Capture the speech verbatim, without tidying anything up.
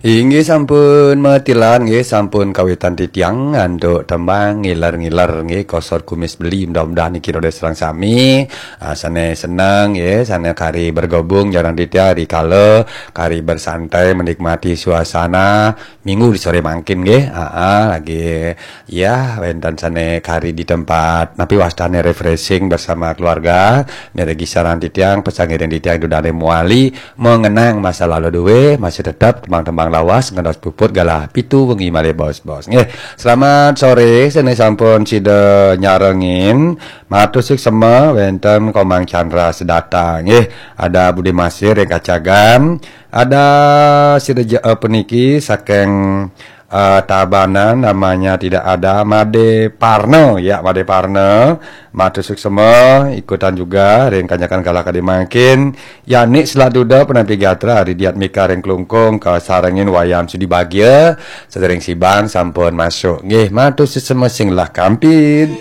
Inggih sampun matilan, nggih sampun kawitan titiang antuk tembang ngiler-ngiler, nggih kosor kumis beli. Mudah-mudahan niki rada sareng sami, ah, sane seneng, nggih, sane kari bergabung sareng titiang rikala kari bersantai menikmati suasana minggu di sore mangkin, nggih. Aa, lagi, ya, wenten sane kari di tempat, napi wastane, refreshing bersama keluarga. Miragi sareng titiang, pesangiring titiang dudane muali, mengenang masa lalu duwe, masih tetap tembang-tembang lawas, ngentos puput galah pitu wengi malih bos-bos. Nggih, selamat sore, sene sampun sida nyarengin. Matur suksema wenten Komang Chandra sedata. Nggih, ada Budi Masih ring Kacagan, ada sida je, eh, puniki saking, eh, Tabanan, namanya tidak ada, Made Parno. Ya, Made Parno. Matur suksema, ikutan juga ring kanyakan galah kadi mangkin. Yani Selat Duda, penampi gatra, Ridiat Mika ring Klungkung, kasarengin Wayan Sudi Bagia, sadering Siban sampun masuk. Nggih, matur suksema sing lah kampid.